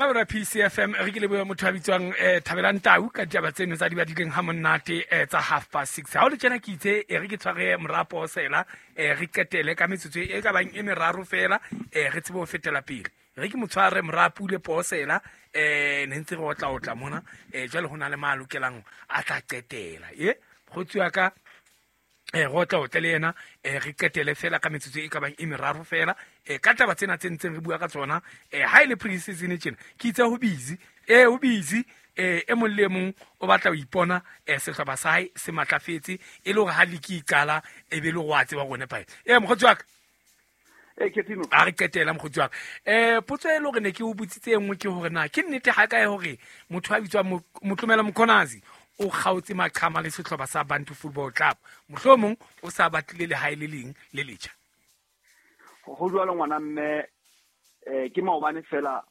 Mabera PCFM re ke lebohe motho a bitswang Thabelang Tau ka ditaba tseno tsa di badileng ha monate tsa 6:30. Ha o le tjena ke itse re ke tshware morapo sela re qetele ka metsotso e ka bang e meraro fela re tsebe ho fetela pele. Re ke motshware morapu le posela ne ntse re otla otla mona jwale ho na le ma lokelang a tla qetela. E kgotsi wa ka re otla otle le yena re qetele fela ka metsotso e ka bang e meraro fela ka taba tsena tse ntseng re bua ka tsona ha e le pre-season tjena ke itse ho busy ho busy e mong le mong o batla ho ipona sehlopha sa hae se matlafetse e le hore ha liki e qala e be le go a tseba gore nepae mokgotsi wa ka a re qetela mokgotsi wa ka potso e le hore ne ke o botsitse e nngwe ke hore na ke nnete ha kae hore motho a bitswang Motlomela Mkhonazi o kgaotse maqhama le sehlopha sa Bantu Football Club mohlomong o sa batlile lehae le leng le letjha. Ho jwalo ngwana mme ke maobane fela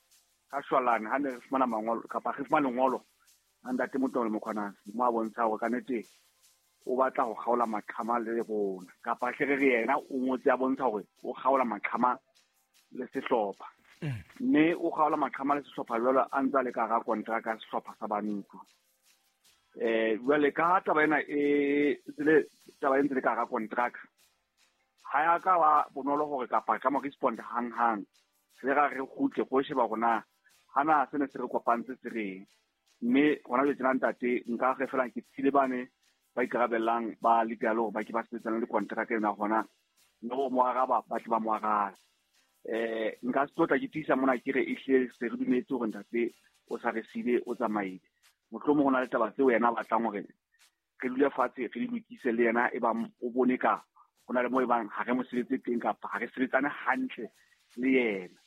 ka shwalane ha ne re fumana mangolo kapa re fumana lengolo a ntate Motlomela Mkhonazi mo a bontsha hore ka nnete o batla ho kgaola maqhama le rona kapa hle re re yena o ngotse a bontsha hore o kgaola maqhama le sehlopha. Mme o kgaola maqhama le sehlopha jwalo a ntse a le ka hara kontraka ya sehlopha sa Bantu. Jwale ka taba ena e tsele taba e ntse le ka hara kontraka ha ya ka wa bonolo hore kapa ka mo respond hang hang re ra re kgutle go sheba rona hana sene se re kopantse se reng. Mme hona jwale tjena ntate nka re fela ke tsile bane ba ikarabellang ba legal hore ba ke ba sebetsana le kontraka ena hona le ho mo araba ba tle ba mo arabe. Nka se tlotla ke tiisa mona ke re ehlile se re dumetse hore ntate o sa re siile o tsamaile. Mohlomong ho na le taba tseo yena a batlang hore re dule fatshe re di lokise le yena e bang o bone ka ho na le moo e bang ha re mo sebetse teng kapa ha re sebetsane hantle le yena.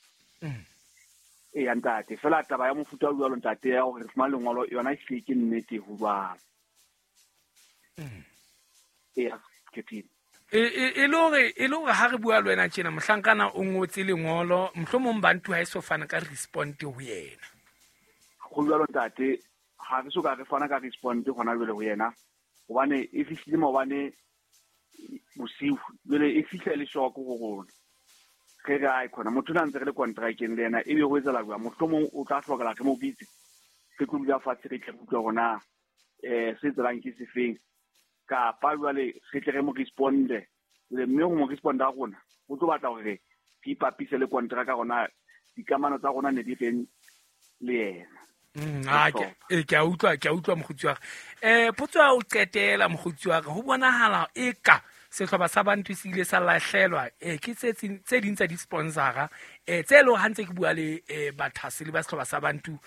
Eya ntate, fela taba ya mofuta o jwalo ntate ya hore re fumane lengolo yona ehlile ke nnete ho jwalo. Eya, ke E le hore ha re bua le wena tjena mohlankana o ngotse lengolo mohlomong Bantu ha e so fana ka respond ho yena. Ho jwalo ntate, ha re so ka re fana ka respond hona jwale ho yena hobane e fihlile maobane bosiu jwale e fihla le shock ho rona. Re re ai khona motho na ntse re le contracteng le yena ebe ho etsahala jwang mohlomong o tla hlokela re mo bitse re tlo dula fatshe re tle re utlwe hore na se tselang ke sefeng kapa jwale re tle re mo responde le mme ho mo responda rona o tlo batla hore re ipapise le kontraka rona dikamano tsa rona ne di reng le yena. Ke a utlwa mokgotsi wa ka. Potso ya ho qetela mokgotsi wa ka ho bonahala eka sehlopha sa Bantu se ile sa lahlelwa ke tse ding tsa di-sponsora tse leng ha ntse ke bua le bathaseli ba sehlopha sa Bantu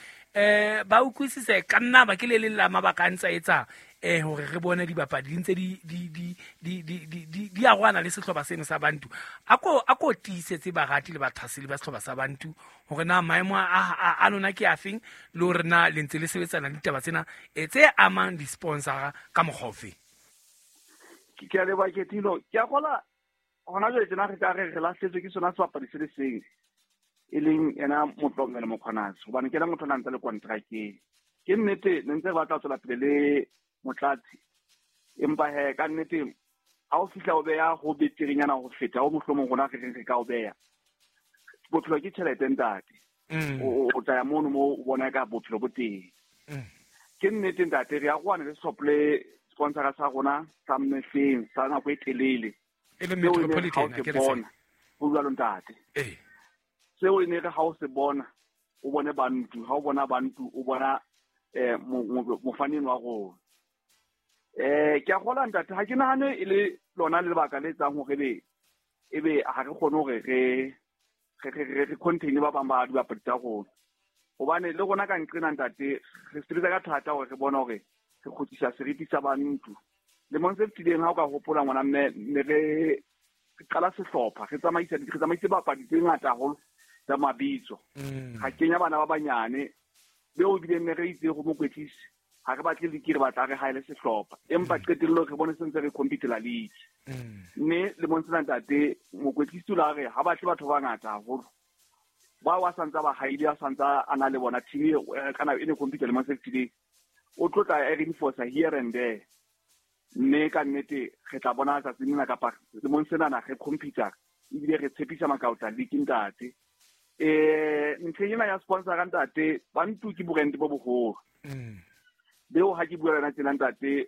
ba utlwisise ka nna ba ke le leng la mabaka a ntse a etsa hore re bone dibapadi di ntse di arohana le sehlopha seno sa Bantu. A ko tiisetse barati le bathaseli ba sehlopha sa Bantu hore na maemo a lona ke afeng le hore na le ntse le sebetsana le ditaba tsena tse amang di-sponsora ka mokgwa ofe. Ke a leboha Ketilo. Ke a kgola hona jwale tjena re ka re re lahletswe ke sona sebapadi se le seng e leng yena Motlomela Mokhonazi hobane ke yena motho a nang ntse le kontrakeng. Ke nnete ne ntse re batla ho tswela pele le Motlatsi empa he ka nnete ha o fihla o beha ho beterenyana ho feta ho mohlomong rona re reng re ka o beha. Bophelo ke tjhelete ntate. O tla ya mono mo o bona ka bophelo bo teng. Ke nnete ntate re arohane le sehlopha le sponsora sa rona sa mehleng sa nako e telele. E le Metropolitan ke re bona. Ho jwalo ntate. Seo e ne re ha o se bona o bone Bantu, ha o bona Bantu o bona mofaneng wa rona. Ke a kgola ntate ha ke nahane e le lona le lebaka le etsang hore ebe ha re kgone hore re contain ba bang ba dibapadi tsa rona. Hobane le rona ka nqena ntate re sebetsa ka thata hore re bone hore re kgutlisa seriti sa Bantu. Lemong se fetileng ha o ka hopola ngwana mme ne re qala sehlopha re tsamaise bapadi tse ngata haholo tsa mabitso. Ga kenya bana ba banyane beo bileng ne re itse go mokwetlisi ha re batle league re batla re haele sehlopha empa qetellong re bone sentse re compete-la league. Mme lemong sena ntate mokwetlisi o la re ha batle batho ba bangata haholo ba wa santsa ba haile a santsa a na le bona team kana e ne compete lemong se fetileng o tlotla e reinforce here and there. Mme ka nnete re tla bona tsatsing lena kapa lemong senana re compete ebile re tshepisa makaota league ntate. Ntlheng ena ya sponsor ntate, Bantu ke brand bo boholo. Beo ha ke bua le tsena ntate,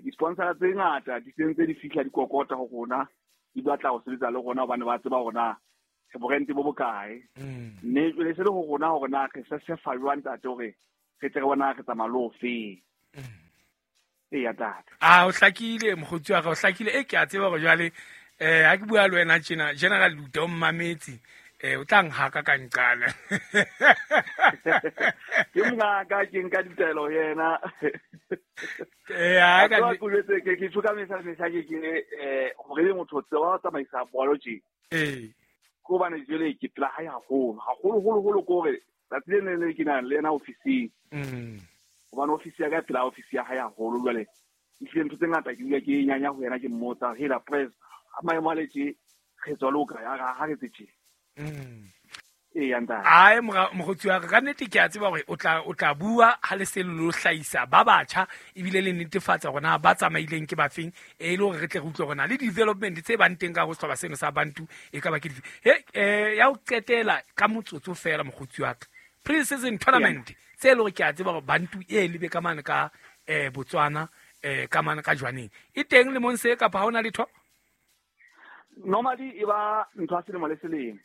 di-sponsor tse ngata di sentse di fihla di kokota ho rona, di batla ho sebetsa le rona hobane ba tseba hore na re brand bo bokae. Mme jwale se le ho rona hore na re se fa jwang ntate hore re tle re bona re tsamaya le ofeng. Eya ntate. A o hlakile mokgotsi wa ka, o hlakile. E ke a tseba hore jwale ha ke bua le wena tjena, General Luta o mmametse. O tla nhaka ka nqala. Ke mongaka, ke nka ditaelo ho yena. Ha ka ke tjho ka mehla mehla ke hore ebe motho o tseba ho tsamaisa bolo tje. Ke hobane jwale ke pela hae haholo, haholo holo holo, ke hore tsatsi le leng le ke nang le yena ofising. Hobane ofisi ya ka e pela ofisi ya hae haholo jwale. Ehlile ntho tse ngata ke dula ke nyanya ho yena, ke mmotsa, hela press, ha maemo a le tje, re tswa le ho kae, ha re etse tje. Eya ntate. Ai mokgotsi wa ka, ka nnete ke a tseba hore o tla bua ha le se lo hlahisa ba batjha ebile le netefatsa hore na ba tsamaileng ke bafeng, e le hore re tle re utlwe hore na le development tse bang teng ka ho sehlopha seno sa Bantu e ka ba ke dife. Ya ho qetela ka motsotso fela mokgotsi wa ka, pre-season tournament tse le hore ke a tseba hore Bantu e lebe ka mane ka Botswana, ka mane ka Jwaneng, e teng lemong se kapa ha hona letho? Normally e ba ntho ya selemo le selemo.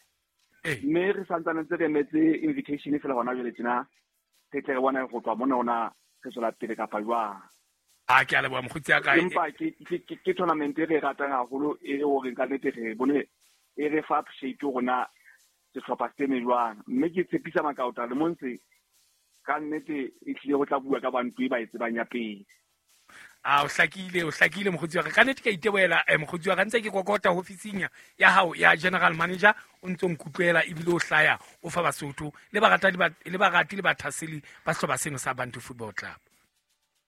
Mme re santsane ntse re emetse invitation fela hona jwale tjena, re tle re bone ho tloha mona hona re tswela pele kapa jwang. A ke a leboha mokgotsi wa ka. Empa ke tournament e re ratang haholo, e hore ka nnete re bone e re fa appreciate rona sehlopha se eme jwang. Mme ke tshepisa makaota le montse ka nnete e tlile ho tla bua ka Bantu e ba e tsebang ya pele. A o hlakile, o hlakile mokgotsi wa ka. Ka nnete ke a itebohela, mokgotsi wa ka, ntse ke kokota ofising ya hao ya general manager, o ntso nkutlwela ebile o hlaya o fa Basotho le barati le barati le bathaseli ba sehlopha seno sa Bantu Football Club.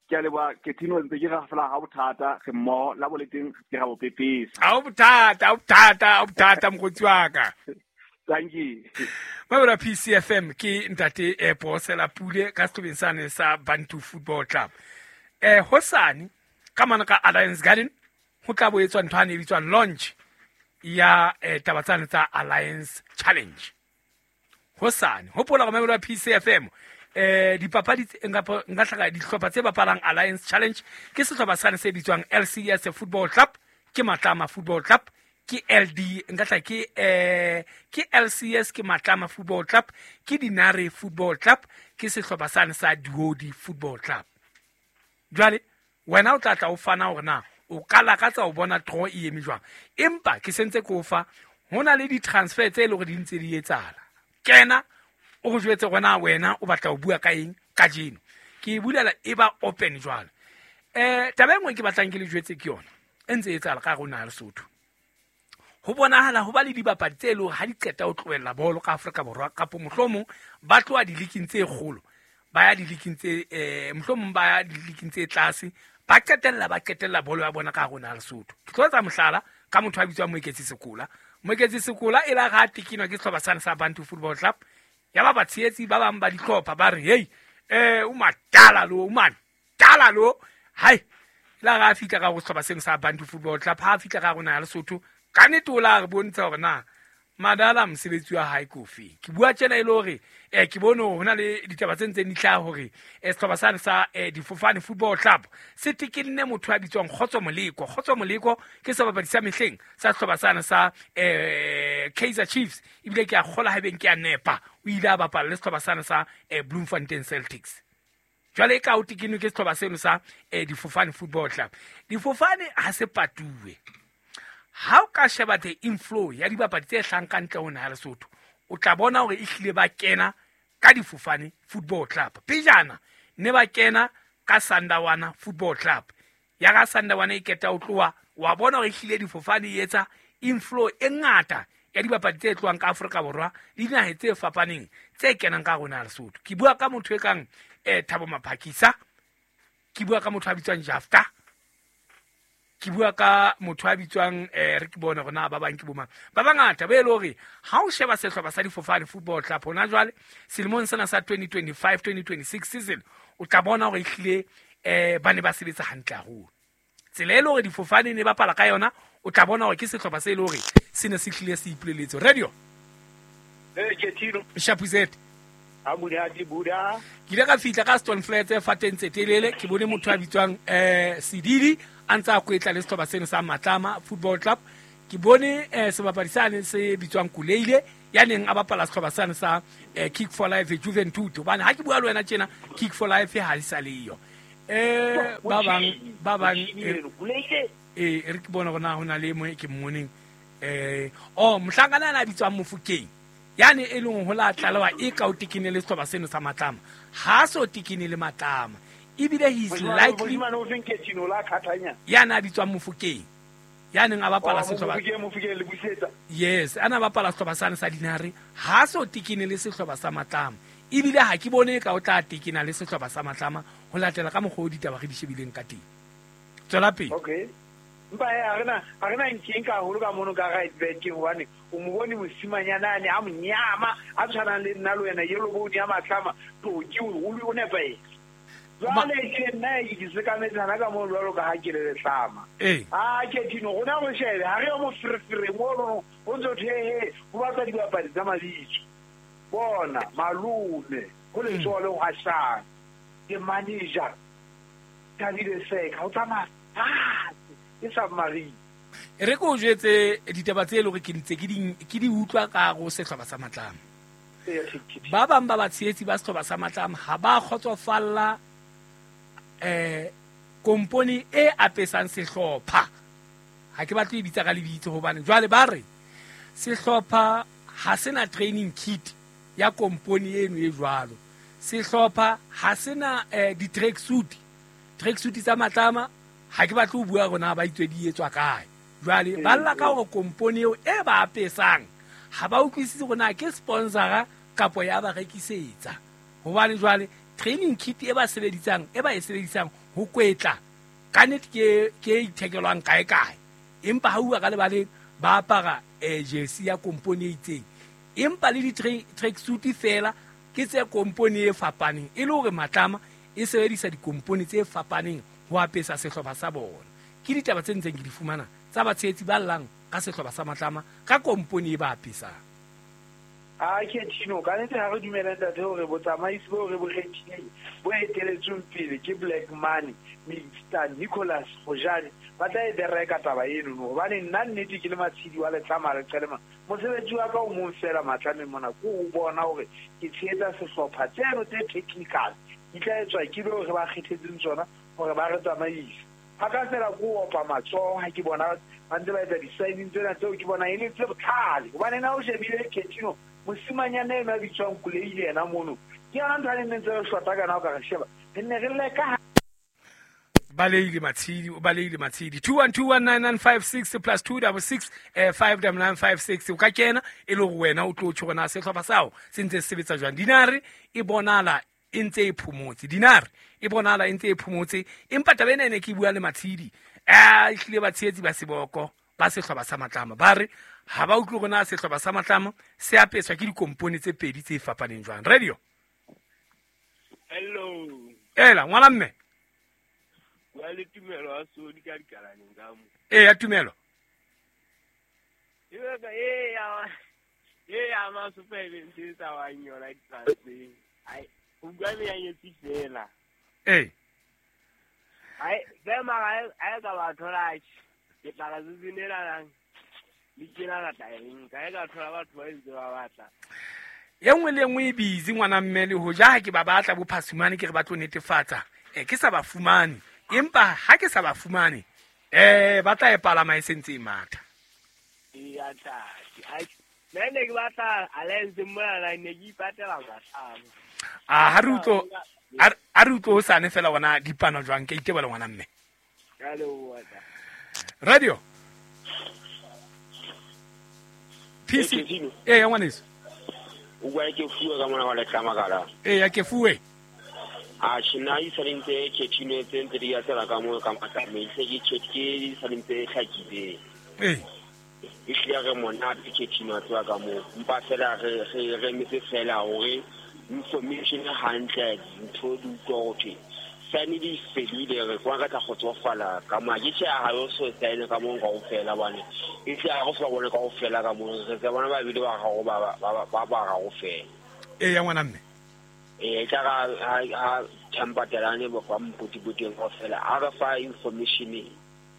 Ke a leboha, ke thino ntse ke ra fela ha bothata, re mmoho la boleteng ke ra bo pepesa. Ha o bothata, ha o bothata, ha o bothata mokgotsi wa ka. Thank you. Mabela PCFM ke ntate Posela Pule ka sehlopheng sane sa Bantu Football Club. Hosane ka mane ka Alliance Garden ho tla bo etswa ntho ane e bitswang launch ya taba tsane tsa Alliance Challenge. Hosane hopola hore Mabela PCFM dipapadi tse nka hlaka dihlopha tse bapalang Alliance Challenge ke sehlopha sane se bitswang LCS Football Club, ke Matlama Football Club, ke LD nka tla ke LCS, ke Matlama Football Club, ke Dinare Football Club, ke sehlopha sane sa Duodi Football Club. Jwale wena o tla tla o fana hore na o ka lakatsa ho bona draw e eme jwang, empa ke sentse ke o fa ho na le di-transfer tse e leng hore di ntse di etsahala. Kena o re jwetse hore na wena o batla ho bua ka eng kajeno. Ke e bulela e ba open jwale. Taba e nngwe ke batlang ke le jwetse ke yona e ntse e etsahala ka hare ho naha ya Lesotho. Ho bonahala ho ba le dibapadi tse leng hore ha di qeta ho tlohella bolo ka Afrika Borwa, kapo mohlomong ba tloha diliking tse kgolo ba ya diliking tse, mohlomong ba ya diliking tse tlase, ba qetella bolo ya bona ka hare ho naha ya Lesotho. Ke tlo etsa mohlala ka motho a bitswang Moeketsi Sekola. Moeketsi Sekola e la ha tekinwa ke sehlopha sane sa Bantu Football Club, ya ba batshehetsi ba bang ba dihlopha ba re, hey, o matala lo, o matala lo. Hai, la ha fihla ka ho sehlopha seno sa Bantu Football Club, ha fihla ka hare ho naha ya Lesotho, ka nnete o la re bontsha hore na madala mosebetsi wa hae ke ofe. Ke bua tjena e le hore, ke bone hore hona le ditaba tse ntseng di hlaha hore, sehlopha sane sa, Difofane Football Club se tekenne motho a bitswang Kgotso Moleko. Kgotso Moleko ke sebapadi sa mehleng sa sehlopha sane sa, Kaizer Chiefs, ebile ke a kgola haebeng ke a nepa, o ile a bapala le sehlopha sane sa, Bloemfontein Celtics. Jwale e ka o tekenwe ke sehlopha seno sa, Difofane Football Club. Difofane ha se patuwe. Ha o ka sheba the inflow ya dibapadi tse hlahang ka ntle ho naha ya Lesotho, o tla bona hore ehlile ba kena ka Difofane Football Club. Pejana ne ba kena ka Sandawana Football Club. Ya ka Sandawana e keta ho tloha, wa bona hore ehlile Difofane e etsa inflow e ngata ya dibapadi tse tlohang ka Afrika Borwa le dinaheng tse fapaneng tse kenang ka hare ho naha ya Lesotho. Ke bua ka motho e kang, Thabo Maphakisa, ke bua ka motho a bitswang Jafta, ke bua ka motho a bitswang, re ke bone hore na ba bang ke bo mang. Ba bangata ba e le hore ha o sheba sehlopha sa Difofane Football Club hona jwale selemong sena sa 2025-2026 season, o tla bona hore ehlile, ba ne ba sebetsa hantle haholo. Tsela e le hore Difofane ne bapala ka yona, o tla bona hore ke sehlopha se e le hore se ne se hlile se ipoleletse. Radio. Ketino Shapuzet a buda ke ile ka fihla ka Stone Flats fateng tse telele ke bone motho a bitswang Sidili a ntse a kwetla le sehlopha seno sa Matlama Football Club. Ke bone sebapadi sane se bitswang Kuleile ya neng a bapala sehlopha sane sa Kick for Life Juventud, hobane ha ke bua le wena tjena Kick for Life ha e sa le yo. Ba bang re ke bona hore na hona le mo ke mmoneng mohlankana ana a bitswang Mofokeng yani e leng ho la tlalewa e ka o tekene le sehlopha seno sa Matlama, ha so tekene le Matlama ebile he is likely yana a bitswang Mofokeng ya neng a bapala sehlopha yes ana bapala sehlopha sane sa Dinare, ha so tekene le sehlopha sa Matlama ebile ha ke bone ka o tla tekena le sehlopha sa Matlama ho latela ka mokgwa o ditaba re di shebileng ka teng. Tswela pele. Okay. Mpa a rena nkeng ka haholo ka mono ka right back hobane o mo bone mosimanyana ane a monyama a tshwanang le nna le wena yellow bone ya Matlama toki o nepahetse. Jwale ke nna ke sekametsana ka mono jwalo ka ha ke le Letlama. A Ketino rona re shebe ha re yo moferefere mono ho ntso thehe ho batla dibapadi tsa mabitso. Bona malome ho letsoho le hwashang ke manager Thabile Seka o tsamaya e submarine. Re ko jwetse ditaba tse le hore ke ntse ke di utlwa ka go sehlopha sa Matlama. Ba bang ba batshehetsi ba sehlopha sa Matlama ha ba kgotsofalla kompone e apesang sehlopha. Ha ke batle e bitsa ka lebitso hobane jwale ba re sehlopha ha sena training kit ya kompone eno e jwalo. Sehlopha ha sena di-track suit tsa Matlama ha ke batle ho bua rona ba itswe di etswa kae. Jwale ba lla ka hore kompone eo e ba apesang ha ba utlwisise hore na ke sponsora kapo ya ba rekisetsa. Hobane jwale training kit e ba sebedisang e ba e sebedisang ho kwetla ka nnete ke ithekelwang kae kae, empa ha uwa ka lebaleng ba apara jersey ya kompone e itseng, empa le di-track suit fela ke tse kompone e fapaneng, e le hore Matlama e sebedisa dikompone tse fapaneng ho apesa sehlopha sa bona. Ke ditaba tse ntseng ke di fumana tsa batshehetsi ba llang ka sehlopha sa Matlama ka kompone e ba apesang. A Ketino ka nnete ha re dumela ntate hore botsamaisi bo re bo kgethileng bo eteletsweng pele ke Black Money Mr Nicholas Hojane ba tla e bereka taba eno, hobane nna nnete ke le matshedi wa Letlama re qelema mosebetsi wa ka o mong fela Matlameng mona ke o bona hore ke tshehetsa sehlopha tseno tse technical di tla etswa ke beo re ba kgethetseng tsona hore ba re tsamaise. Ha ka fela ko opa matsoho ha ke bona ba ntse ba etsa di-signing tsena tseo ke bona e le tse botlhale, hobane na o shebile Ketino mosimanyana eno a bitswang Kuleile yena mono ke yona ntho a neng ntse re shota kana o ka re sheba re nne re leka. Baleile Matshidi, o baleile Matshidi. 21219956 plus 266 59956 o ka kena e le hore wena o tlo tjho hore na sehlopha sao se ntse se sebetsa jwang. Dinare e bonala e ntse e phomotse, Dinare e bonala e ntse e phomotse, empa taba ena e ne ke bua le Matshidi ehlile batshehetsi ba seboko ba sehlopha sa Matlama ba re ha ba utlwe hore na sehlopha sa Matlama se apeswa ke dikompone tse pedi tse fapaneng jwang. Radio. Hello. Ela ngwana mme. Wa le Tumelo a sodi ka dikalaneng ka mo. Ya Tumelo. Ya ma super event tsa wa nyola di-transfer. Ai o bua me ya nyetsi fela. Ai be mara ai ka ba thola ke tla ka tsinela le kena la tlaeng ka ka thola batho ba ntse ba batla. E nngwe le nngwe e busy ngwana mme le hoja ha ke ba batla bo phasumane ke re ba tlo netefatsa ke sa ba fumane, empa ha ke sa ba fumane ba tla e palama e sentse e matha. Ya tla ai nne ne ke batla alliance mona ne ke ipatela Matlama. A ha re utlo hosane fela wona dipano jwang ke itebela ngwana mme. Ka leboha. Radio. PC. Ya ngwaneso. O bua ke fuwe ka mona wa Letlama kala. Ya ke fuwe. A shina e salentse Ketino tse ntse di ya tsela ka mo ka Matlama e se ke ke salentse hlakileng. E hlile re monate Ketino a tswa ka mo mpa fela re re metse fela hore information hantle ntho di utlwa hore Di-sign di fedile re kwa ka tla kgotsofala ka mo ke tjhe ha yo so sign ka mo kaofela bane e tle ha go sa bone kaofela ka mo re tse bona ba bile ba ga go ba ga go fela e ya ngwana mme e tla ga ha thampatelane bo kwa mpotipoteng kaofela a re fa information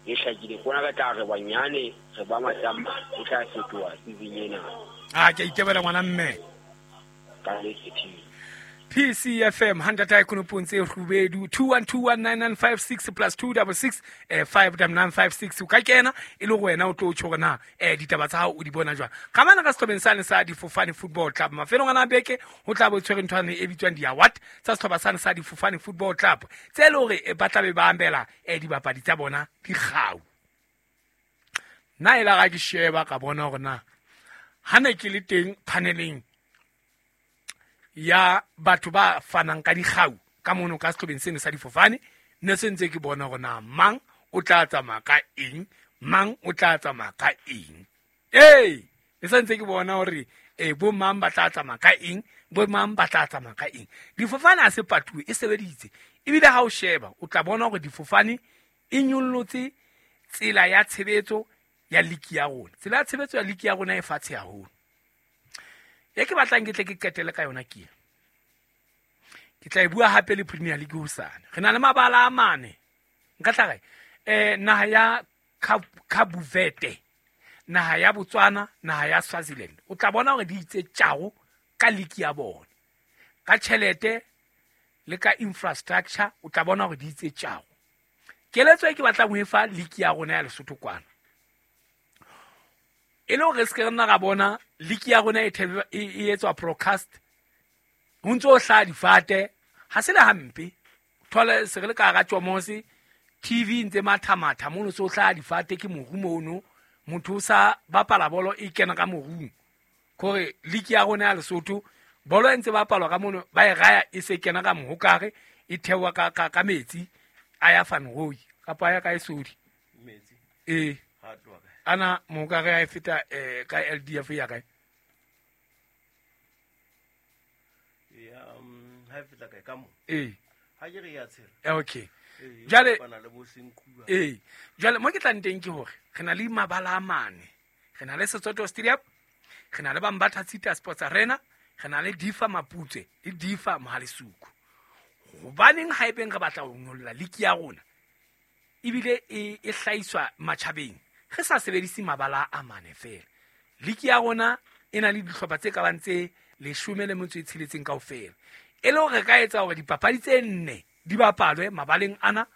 e hlakile kona ka tla re banyane re ba matamba e tla fetoha season ena a ke itebela ngwana mme ka le ke PCFM 100 konopontse rubedu 21219956 plus 266 59956 o ka kena e le go wena o tlo tjho na ditaba tsa hao o di bona jwang ga mana ka sehlobeng sane sa Difofane Football Club mafelong ana beke ho tla bo tshwere nthwane e bitswang di award tsa sehloba sane sa Difofane Football Club tse le hore ba tla be ba ambela dibapadi tsa bona dikgau nna e la ga ke sheba ka bona hore na ha ne ke le teng paneleng ya batho ba fanang ka dikgau ka mono ka sehlobeng seno sa Difofane ne se ntse ke bona hore na mang o tla tsamaya ka eng mang o tla tsamaya ka eng ee ne se ntse ke bona hore bo mang ba tla tsamaya ka eng bo mang ba tla tsamaya ka eng. Difofane ha se patuwe e sebeditse ebile ha o sheba o tla bona hore Difofane e nyollotse tsela ya tshebetso ya liki ya rona. Tsela ya tshebetso ya liki ya rona e fatshe haholo. E ke batlang ke tle ke qetele ka yona ke ke tla e bua hape le Premier League hosane. Re na le mabala a mane nka tla re naha ya Kabuvete, naha ya Botswana, naha ya Swaziland. O tla bona hore di itse tjao ka league ya bona ka tjhelete le ka infrastructure o tla bona hore di itse tjao. Keletso e ke batlang ho e fa league ya rona ya Lesotho kwana e le hore se ke rena ra bona league ya rona e etswa broadcast ho ntso hla difate ha se le hampe thole se re le ka ra tjomose TV ntse mathamatha mono so hla difate ke moru mono motho o sa bapala bolo e kena ka morung kore league ya rona ya Lesotho bolo e ntse bapalwa ka mono ba e raya e se kena ka mohokare e thewa ka metsi a ya fanroi kapa a ya ka esodi metsi e ha tloha ana mohokare a e feta ka LDF ya kae ya ha feta kae ka mo e ha ke re ya tshela okay jale bana le bo senkuwa jale mo ke tlang teng ke hore re na le mabala a mane re na le Setsoto Stadium re na le Bambatha City Sports Arena re na le Difa Maputse le Difa Mohalesuku. Hobaneng ha ebeng re batla ho nyolla liki ya rona ebile e hlahiswa matjhabeng re sa sebedise mabala a mane fela. Liki ya rona e na le dihlopha tse ka bang tse 16 kaofela e le hore re ka etsa hore dipapadi tse nne di bapalwe mabaleng ana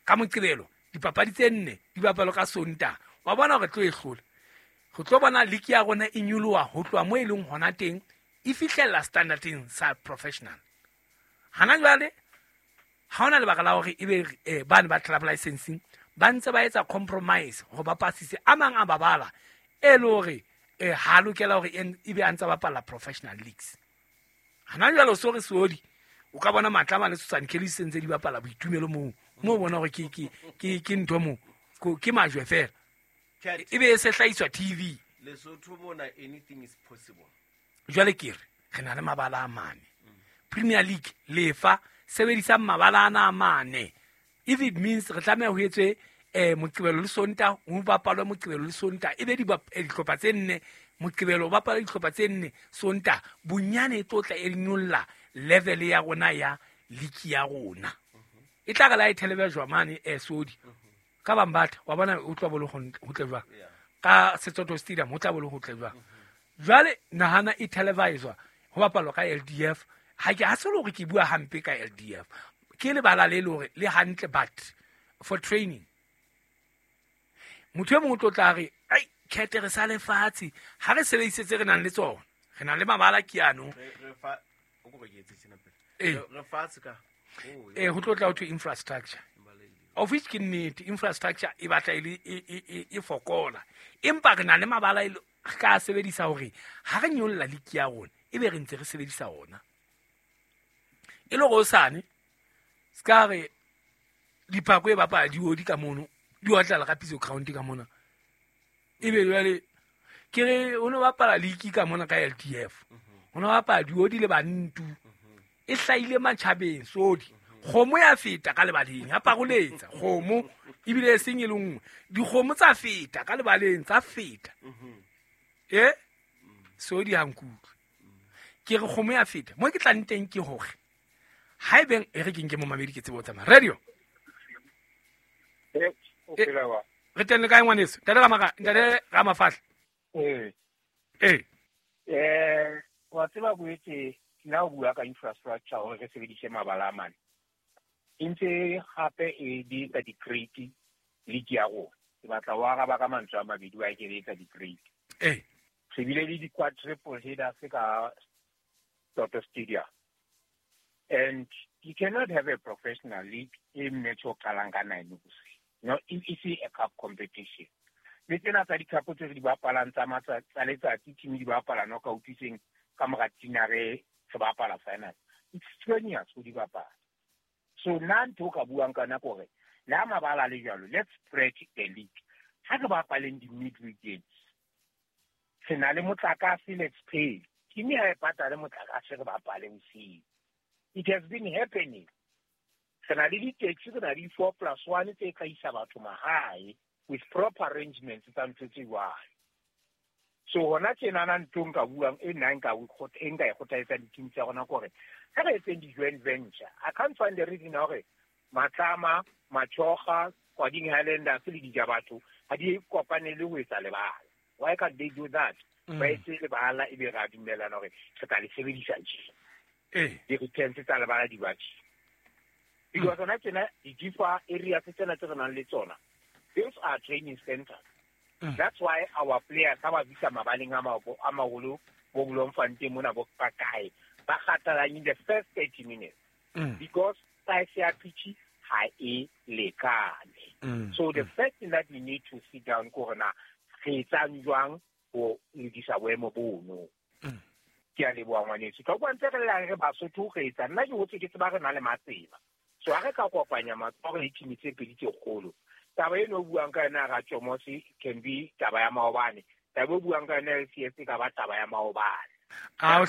ka Moqebelo dipapadi tse nne di bapalwe ka Sontaha wa bona hore tlo e hlola re tlo bona liki ya rona e nyoloha ho tloha mo e leng hona teng e fihlella standardeng sa professional. Hana jwale ha hona lebaka la hore ebe bane ba club licensing ba ntse ba etsa compromise hore ba pasise a mang a babala e le hore ha lokela hore ebe a ntse bapala professional leagues. Hana jwale so re sodi o ka bona Matlama le Susan Kelly se ntse di bapala boitumelo moo mo bona hore ke ntho mo ke majwe fela ebe e se hlahiswa TV. Lesotho mona anything is possible. Jwale ke re na le mabala a mane Premier League lefa sebedisa mabala ana a mane if it means re tlameha ho etswe Moqebelo le Sontaha ho bapalwe Moqebelo le Sontaha ebe dihlopha tse nne Moqebelo bapala dihlopha tse nne Sontaha bonyane e tlo tla e nyolla level ya rona ya league ya rona e tla re la e television mane sodi ka Bambatha wa bona o tla bolo ho tle jwang ka Setsoto Stadium ho tla bolo ho tle jwang jwale nahana e televiswa ho bapalwa ka LDF ha ke ha se hore ke bua hampe ka LDF ke lebala le hore le hantle but for training motho e mong o tlo tla re ai kete re sa lefatshe ha re sebedise tse re nang le tsona re na le mabala ke ano re fa o go ke etse tsena pele re fatshe ka ho tlo tla ho thwe infrastructure of which ke nnete infrastructure e batla e fokola empa re na le mabala e re ka sebedisa hore ha re nyolla liki ya rona ebe re ntse re sebedisa ona e le hosane ska re diphako e bapala diodi ka mono di otlala ka piso ground ka mona ebe jwale ke re o no bapala liki ka mona ka LDF o no bapala diodi le bantu e hlaile matjhabeng sodi Kgomo ya feta ka lebaleng ya paroletsa kgomo ebile e seng e le nngwe dikgomo tsa feta ka lebaleng tsa feta so di hankutlwe ke re kgomo ya feta mo ke tlang teng ke hore ha ebeng e re ke nke momamedi ke tsebo tsamaya radio re teng le kae ngwaneso ntate Ramafahla wa tseba boetse nna o bua ka infrastructure hore re sebedise mabala a mane e ntse gape e di etsa di-crate league ya rona. Ke batla ho araba ka mantswe a mabedi wa ke etsa di-crate. Re bile le di-quadruple headers ka Toto Stadium. And you cannot have a professional league e match o qalang ka 9 bosiu. No, it's a cup competition. Le tsena tsa di-cup tse re di bapalang tsa letsatsi team di bapala no ka utlwiseng ka mora tinare re bapala final. It's strenuous ho di bapala. So nna ntho o ka buang ka nako hore le ha mabala le jwalo, let's spread the league. Ha re bapaleng di-midweek games. Re na le motlakase, let's pay. Team ha e patale motlakase re bapale bosiu. It has been happening. Re na le di-taxi, re na le 4+1 tse tla isa batho mahae with proper arrangements tsa ntho tse jwalo. So hona tjenana ntho nka buang e nna nka e nka e kgothaletsa di-team tsa rona kore ha re etseng di-joint venture. I can't find the reason hore Matlama, Machoga, Kwading Highlanders le Dijabatho ha di kopanele ho etsa lebala. Why can't they do that? Ba etse lebala ebe ra dumellana hore re tla le sebedisa tje. Di-returns tsa lebala di ba tje. Because hona tjena di-FIFA areas tsena tse re nang le tsona, those are training centers. That's why our players ha ba fihla mabaleng a maholo bo Bloemfontein mona bo kae ba kgathala in the first 30 minutes because size ya pitch ha e lekane. So the first thing that we need to sit down ko hore na re etsang jwang ho lokisa boemo bono. Ke a leboha ngwaneso. Ka bua ntse re lla re Basotho re etsa nna ke hotse ke tseba re na le matseba. So ha re ka kopanya matsoho le team tse pedi tse kgolo. Taba eno o buang ka yona Ratjomose can be taba ya maobane. Taba o buang ka yona LCS ka ba taba ya maobane.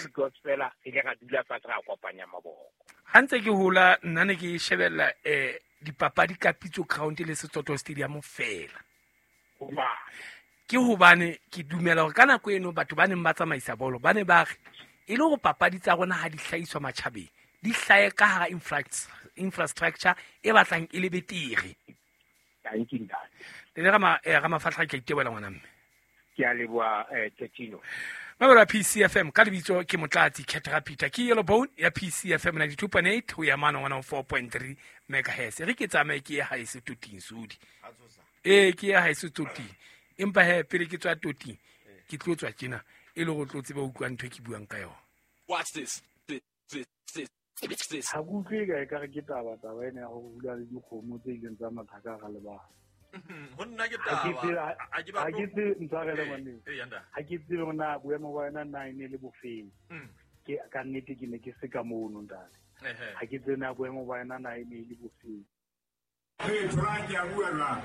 Because fela re ile ra dula fatshe ra kopanya maboko. Ha ntse ke hola nna ne ke shebella dipapadi ka Pitso Ground le Setsoto Stadium fela. Ke hobane ke dumela hore ka nako eno batho ba neng ba tsamaisa bolo ba ne ba re e le hore papadi tsa rona ha di hlahiswa matjhabeng di hlahe ka hara infrastructure e batlang e le betere. Thank you ntate. Le Ramafahla ke iteboela ngwana mme. Ke a leboha Tetino. Mabelo PCFM ka lebitso ke Motlatsi Khetra Peter ke Yellow Bone ya PCFM 92.8 ho ya mano 104.3 megahertz. Re ke tsamaye ke ye haeso toting sodi. Ke ye haeso toting. Empa he pele ke tswa toting ke tlo tswa tjena e le go tlo tseba utlwa ntho e ke buang ka yona. Watch this. This. Ha ke utlwe ka ekare ke taba ena ya ho bula le dikgomo tse ileng tsa matha ka hara lebala. Ho nna ke taba. Ha ke tsebe ntshwarele ngwaneng. Ha ke tsebe hore na boemo ba yona na e ne le bofeng. Ke ka nnete ke ne ke se ka mono ntate. Ha ke tsebe na boemo ba yona na e ne le bofeng. Hey, Frank, ya bua jwang?